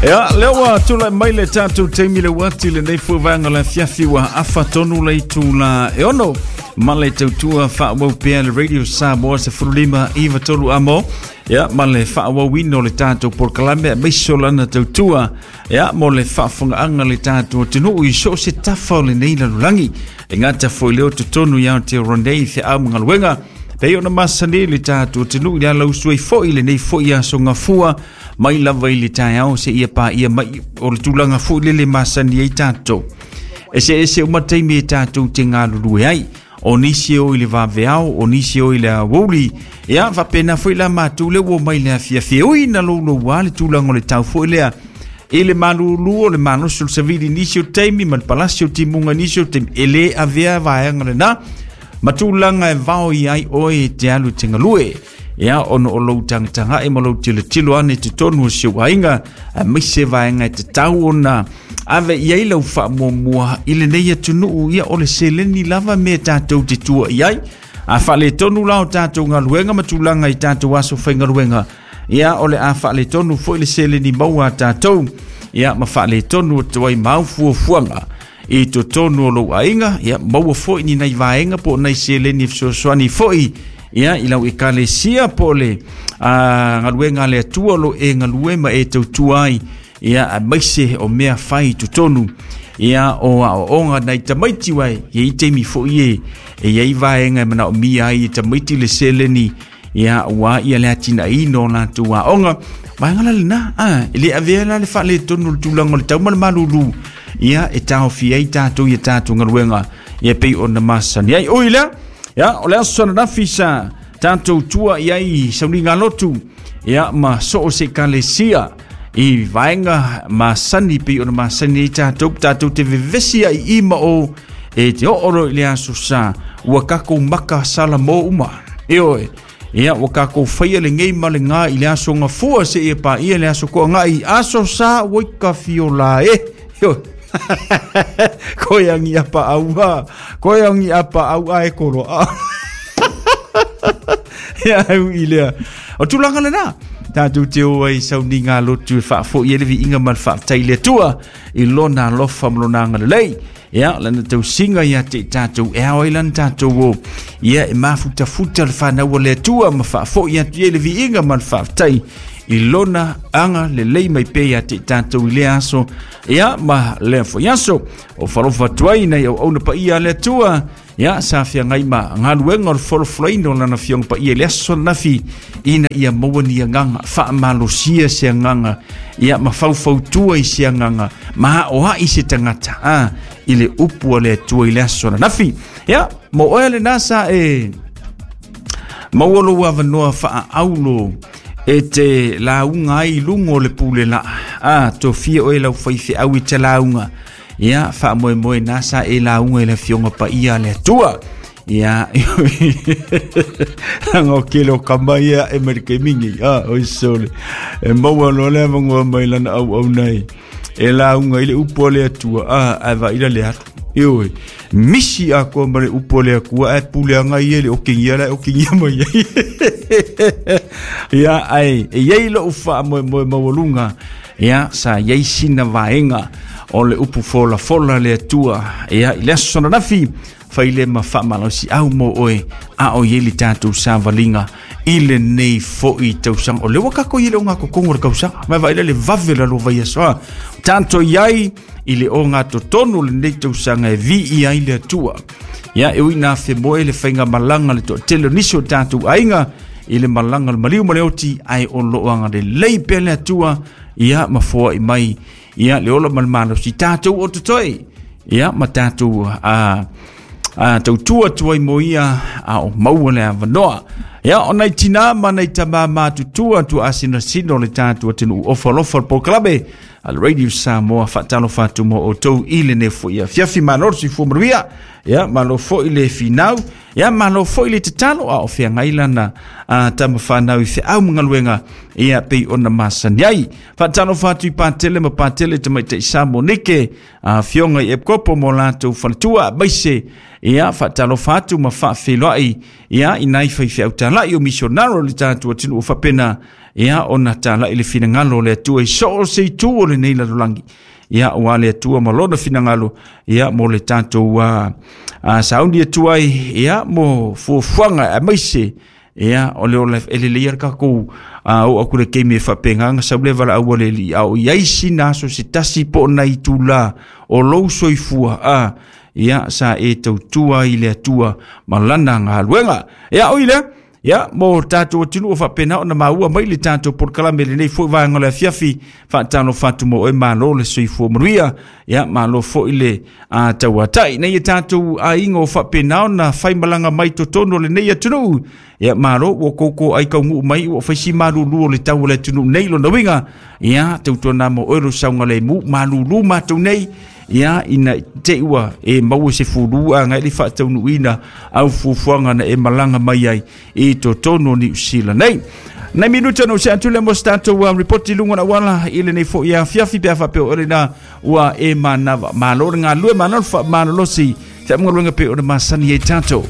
Ia, lea ua tulai mai le tatou taimi le uati lenei foi vaega o le afiafi ua afa tonu le itula e 6 ma le tautua faaauau pea le Radio Samoa 15 93 amo. Ia, ma le faaauauina o le tatou polokalame aemaise o lana tautua, ia, mo le faafofogaaga le tatou atunuu i so o se tafa o lenei lalolagi. E gata foi leo totonu i Aotearoa nei feau ma galuega pei ona masani le tatou atunuu i le alausu ai foi lenei foi aso gafua mai lava i le taeao seia paia mai o le tulaga foi lele masani ai tatou. Eseese uma taimi e tatou te galulue ai. O nisi e o i le vaveao, o nisi e o i le aoauli. Ia, faapena foi la matou lea ua omai i le afiafi e ui ina louloua le tulaga o le tau foi lea i le malulu o le malosi o le savili i nisi o taimi ma le palasi o timuga i nisi o taimi, e le avea vaega lena ma tulaga e vao i ai oe e te alu e te galue. Ia, ona o lou tagatagai ma lou tilotilo ane i totonu o si ou aiga, aemaise vaega e tatau ona ave i ai lau faamuamua i lenei atunuu. Ia, o le seleni lava mea tatou te tua i ai. A faaletonu la o tatou galuega ma tulaga i tatou aso faigaluega, ia, o le a faaletonu foi le seleni maua a tatou, ia, ma faaletonu atu ai mau fuafuaga i totonu o lou aiga. Ia, maua foi ni nai vaega po o nai seleni e fesoasoani foi, ia, i lau ekalesia po o le galuega a le Atua o lo e galue ma e tautua ai, ia, aemaise o mea fai i totonu, ia, o aoaoga nai tamaiti uae i ai taimi foi e i ai vaega e manaomia ai e tamaiti le seleni, ia, ua ia le atinaeina o latou aoga. Vaega la lena, e le avea la le faaletonu o le tulaga o le tau ma le malulu, ia, e taofia ai tatou ia tatou galuega, ia, pei ona masani ai. Ui lea, ia, o le aso ananafi sa tatou tua i ai sauniga lotu, ia, ma so o se ekalesia i vaega masani pei ona masani ai tatou, tatou te vevesi ai i ma o e te oo loa i le aso sa ua tatou maka salamo uma. Ioe. Ia, ua tatou faia lenei ma le gā i le aso gafua seia paia le aso toagai aso sa ua i ka fiola e. Ioe. Koe angi apa aua. Koe angi apa au a e koro. Ia, au i lea. O tulaga lena. Tatou te o ai sauniga lotu e faafoi ai le viiga ma le faafetai i le Atua i lona alofa ma lona agalelei. Ia, lana tausiga ia te i tatou e ao ai lana tatou o. Ia, e mafutafuta le whanau o le Atua ma faafoi atu i ai le viiga ma le faafetai i lona agalelei mai pea ia te i tatou i lea aso, ia, ma lea foi aso. O falofa atu ai nai auauna paia a le Atua, ia, sa feagai ma galuega o le folafolaina o lana Afioga Paia i le aso ananafi, ina ia maua ni agaga faamalosia se agaga, ia, ma faufautua i se agaga ma aoai se tagata i le upu a le Atua i le aso ananafi. Ia, mo oe lena sa e maua lou avanoa faaaulo e te lauga ai i luga o le pule laa. Tofia oe lau faifeau i te lauga. Ia, faamoemoe na sa e lauga i le Afioga Paia a le Atua. Ia, langa o kele o kama ia e mai le taimi nei. Oi sole. E maua loa le avanoa mai lana auauna e e lauga i le upu a le Atua. Ae vaai la le alu. Ioe, misi atoa ma le upu a le Atua ae pule aga ia i le okigia la e okigia mai ai. Ia, ae e i ai lou faamoemoe maualuga, ia, sa i ai sina vaega o le upu folafola le Atua, ia, i le aso ananafi fai le ma faamalosiau mo oe a o i ai le tatou savaliga i lenei foi tausaga. O lea ua tatou i ai le ogatotonu o le tausaga. Mai vaai le vave la lua vaiaso a. Tatou i ai i le ogatotonu o lenei tausaga e viia ai le Atua. Ia, e ui ina femoe le faigamalaga le toatele o nisi o tatou aiga i le malaga o le maliu ma le oti, ae o loo agalelei pea le Atua, ia, ma foai mai, ia, le ola ma le malosi tatou o totoe, ia, ma tatou tautua atu ai mo ia a o maua le avanoa. Ia, o nai tinā ma nai tamā matutua atu asinasino le tatou atunuu ofa alofa le polokalame a le Radio Samoa faatalofa atu mo outou i lenei foi afiafi. Malo le soifua manuia, ia, malo foi le finau, ia, malo foi le tatalo a o feagai lana tama fanau i feau ma galuega, ia, pei ona masani ai. Faatalofa atu i Patele ma Patele tamaitai sa Monike, afioga i Epkopo mo latou faletua, aemaise, ia, faatalofa atu ma faafeiloai, ia, i nai faifeau talai o misionaro le tatou atunuu faapena. Ia, ona talai le finagalo o le Atua i so o se itu o lenei lalolagi. Ia, ua le Atua ma lona finagalo, ia, mo le tatou sauni atu ai, ia, mo fuafuaga aemaise, ia, o le ola e lelei le tatou o aku le keimi e faapena sau le valaau a le Alii, a o i ai sina aso se tasi po o nai itula o lou soifua, ia, sa e tautua i le Atua ma lana galuega. Ia, o i lea, ia, mo tatou atunuu o faapena ona maua mai le tatou polokalame lenei foi vaega o le afiafi, faatalofa atu mo oe, malo le soifua manuia, ia, malo foi le tauatai. Nei e tatou aiga o faapena ona faimalaga mai totonu o lenei atunuu, ia, malo ua koko ai kaunuu mai ua faisi malulu o le tau o le atunuu nei lona uiga, ia, tautuana mo oe lo saogalemu, malulu matou nei, ia, ina te ua e maua se fulu a ngai le faataunuuina au fuafuaga na e malaga mai ai i totonu o Niu Sila nei. Nai minuta no se atu le mo se tatou ripoti lunga na wala i lenei foi afiafi pe a faapea o lena ua e manava. Malo le galue, malo le faamalolosi, feamugaluega pe o le masani ai tatou.